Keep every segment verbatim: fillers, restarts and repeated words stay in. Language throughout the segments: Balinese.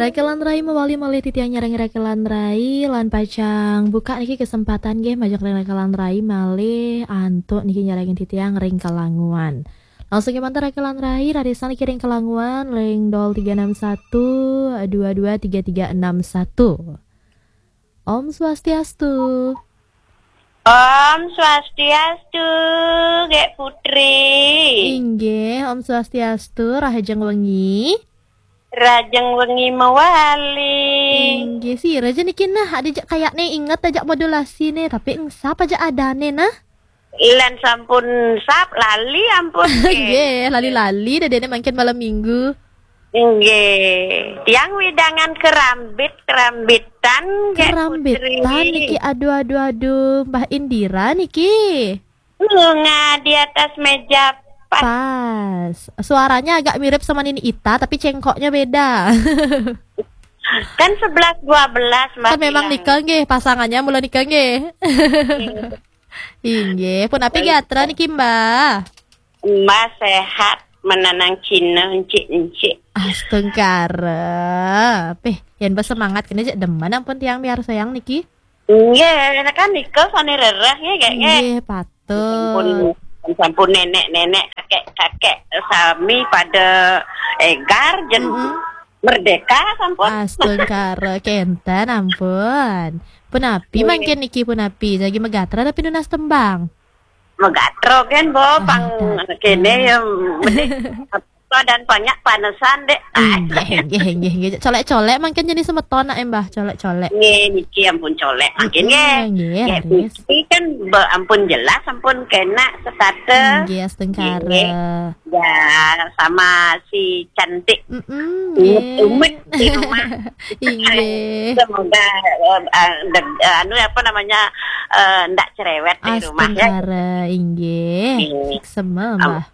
Rakelan Rai mawali malih titiang nyarengin Rakelan Rai, lan pacang buka niki kesempatan nggih majeng ring Rakelan Rai malih antuk niki nyarengin titiang ring Kelanguan. Langsung kemanten Rakelan Rai, rarisang niki ring Kelanguan ring nol tiga enam satu dua dua tiga tiga enam satu. Om Swastiastu. Om Swastiastu, Gek Putri. Inggih, Om Swastiastu, rahajeng wengi. Rahajeng wengi mawali. Inggih, sira ja niki nah, ada jak kayakne inget ajak modulasi ne, tapi engsap aja adane nah. Lan sampun sap lali ampun. Nggih, lali-lali dadene mangkin malam minggu. Nggih, tiang wedangan kerambit, kerambitan, Gek Kerambitan Putri. Niki, aduh, aduh, aduh, Mbah Indira niki. Bunga di atas meja pas. Pas. Suaranya agak mirip sama Nini Ita, tapi cengkoknya beda. Kan sebelas dua belas, Mbak. Kan memang bilang. Nika nggih, pasangannya mula nika nggih. Nggih. Inggih, punapi gatra niki, Mbah? Mbah sehat, menanang Cina, encik-encik. Astungkara. Peh, yen bersemangat kene cek demen ampun tiang miarsayang niki. Nggih, kan nika sane rereh nggih, Gek, nggih. Nggih, patut. Sampun, sampun nenek-nenek, kakek-kakek sami pada egar jen Mm-mm. merdeka sampun. Astungkara kenten ampun. Punapi Nggih. Mangkin niki punapi jagi megatra tapi nunas tembang. Megatra kan, Bo, pang kene ya, mending apa dan banyak panesan, Dek. Nggih, nggih, nggih, nggih. Colek-colek mangkin jenis semeton nak, Mbah, colek-colek. Nggih, niki ampun colek mangkin, nggih. Mm-mm, nggih, Nggih, raris. Putri kan be-, ampun jelas, ampun kena setata. Nggih, astungkara. Nggih. Ya, sama si cantik. Mm-mm, Umut, nggih. Umut di rumah. Inggih. Semoga, eh, eh, de-, eh, anu, apa namanya, eh, ndak cerewet di rumah, ya. Astungkara, inggih. Nggih. Suksema, Am-, Mbah.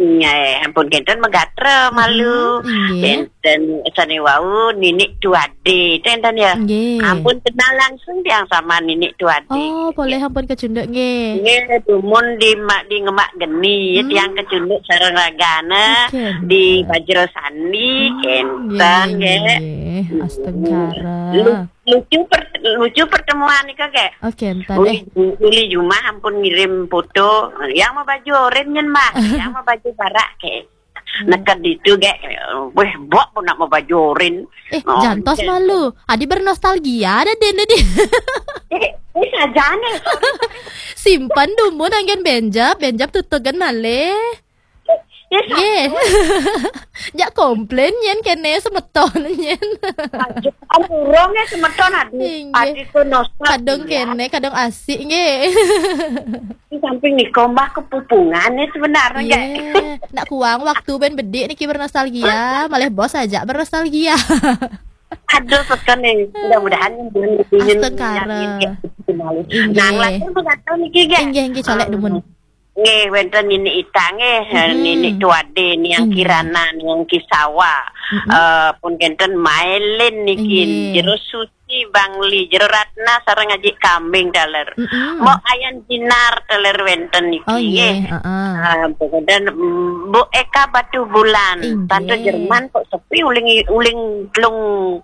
Nggih, ampun kenten megatra malu. Mm-mm, inggih. Kenten sane wau Ninik Tuade, kenten ya. Nggih. Ampun kenal langsung tiang sama Ninik Tuade. Oh, polih ampun kecunduk nggih. Nggih, dumun di ma-, di Ngemak Geni, ya, Hmm. Tiang kecunduk sareng ragane. Oke, di Mbak. Bajra Sandi, Hmm, kenten, nggih, nggih, nggih. Nggih. Hmm. Astungkara. Lu-, lucu per-, lucu pertemuan nika, Gek. Oke, entah deh. Uli, uli Jumah ampun ngirim foto. Yang mau baju oren nyen, Mbah. Yang mau baju barak, Gek. Hmm. Neked itu, Gek. Weh, bok pun nak mau baju oren. Eh, oh, jantos jen. Malu. Adi bernostalgia ada den tadi. Eh, eh, sajane. Simpan dumun anggen benjap, benjap tutugan malih. Ya, nggih. Satu. Jak komplain nyen kene semeton nyen. Lanjut, ampura nggih semeton, aduh. Inggih. Adi ku nostal. Kadung ya. Kene, kadung asik nggih. Di samping nika Mbah kepupungan nih sebenarnya, nggih. Nggih. Nak kuang waktu ben bedik niki bernostalgia, malih bos aja bernostalgia. Aduh, peken nih. Mudah-mudahan yang ingin astungkara. Yang ingin kembali. Inggih. Nah, nglajeng mengatakan niki, nggih. Inggih, inggih, colek ah, dumun. Nggih, wenten Nini Ita nggih, mm-mm. Nini Tuade, Niang inggih. Kirana, Niang Kisawa. Mm-mm. Eh, pun kenten Mailin niki, inggih. Jero Suci, Bangli, Jero Ratna, sareng Aji Kambing, taler. Mm-mm. Mok Ayan Jinar, taler wenten niki, oh, nggih. Nggih, heeh. Eh, pun kenten, mm, Bu Eka Batu Bulan, inggih. Tante Jerman kok sepi uling, uling telung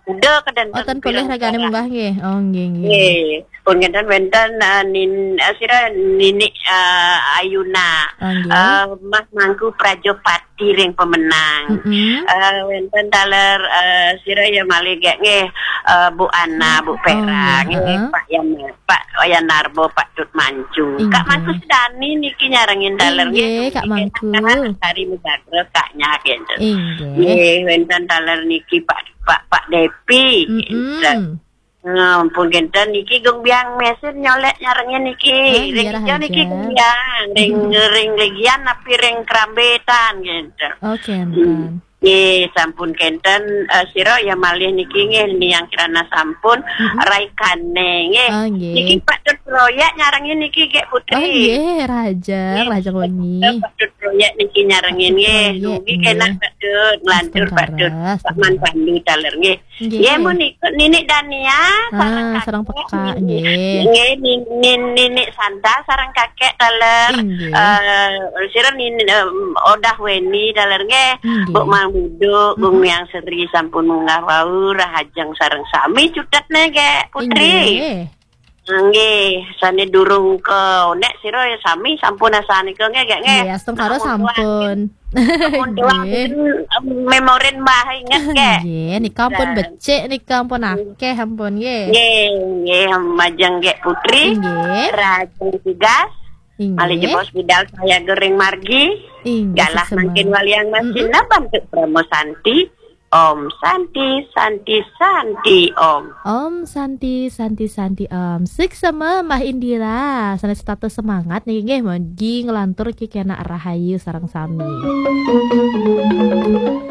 kuda kedanten. Oh, ten polih ragane munggah, nggih. Oh, nggih, nggih. Nggih. Pun ngenten wenten, eh, nin-, eh, sira Ninik, eh, Ayuna. Ah, nggih. Eh, Mas Mangku Prajopati ring pemenang. Mm-mm. Eh, wenten taler, eh, sira ya malih gek nggih, eh, Bu Ana, Bu oh, Pera, nggih, nggih, heeh. Pak Yan, Pak Yan Narbo, Pak Tut Mancu. Inggih. Kak Mangku Sedani niki nyarengin taler nggih, inggih, Kak Mangku. Hari Megagra, Kak Nyak, gitu. Inggih. Nggih, wenten taler niki Pak, Pak, Pak Depi, mm-mm. Gitu. Nah, ampun kenten niki Gung Biang Mesin nyolek nyarengin niki. Ah, ring iya, ijo niki rahaja. Gung Biang, ring, mm-mm. Ring legian napi ring kerambitan gitu. Oh, kenten. Hmm. Nggih, sampun kenten, eh, sira ya malih niki nggih Niang Kirana sampun, mm-mm. Raikane nggih. Oh, nggih. Niki Pak Tut Proyek nyarengin niki Gek Putri. Oh, nggih, rahaja, nggih, rahaja wengi. Pak Tut Proyek niki nyarengin nggih. Pak Tut Proyek, nggih. Dugi kenak Pak Tut, nglantur Pak Tut. Astungkara, Pak Man astungkara. Pandu taler nggih. Nggih, nggih. Nggih, mun ikut Ninik Dania, ah, sareng sareng kakek, kakek, nggih. Nggih, nin-, nin-, Ninik Santa sareng kakek taler. Inggih. Eh, sira nin-, em, Odah Weni taler nggih. Inggih. Bu Mang-, Duduk, Gung Yang Seri sampun munggah wau, rahajeng sareng sami cutetne, Gek Putri. Inggih. Nggih, sane durung ke nek sira ya sami sampun asanika nggih, Gek, nggih. Nggih, astungkara sampun. Sampun tuwak. Nggih. Memorin Mbah inget, Gek. Nggih, nika ampun becik, nika ampun akeh ampun nggih. Nggih, nggih, majeng Gek Putri. Nggih. Rajin tugas. Inggih. Malih jebos bidal saya gering margi. Inggih, galah mangkin waliang masin naban tuk Brahma Santi. Om Santi, Santi, Santi, Om. Om Santi, Santi, Santi, Om. Suksma Mbah Indira, sanes tatus semangat niki nggih, mugi nglantur ki kena rahayu sareng sami.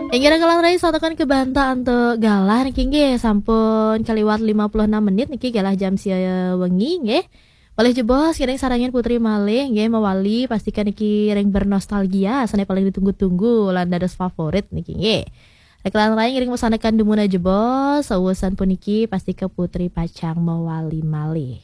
Inggih, kalang rai satakan kebanta antuk galah niki nggih, sampun kaliwat lima puluh enam menit niki, galah jam sia wengi nggih. Malih jebos, kenging sarengin Putri malih nggih, mawali pastika niki ring bernostalgia, sane paling ditunggu-tunggu lan dados favorit niki nggih. Kalang rai ngiring masanekan dumun jebos, sausan puniki pastika Putri pacang mawali malih.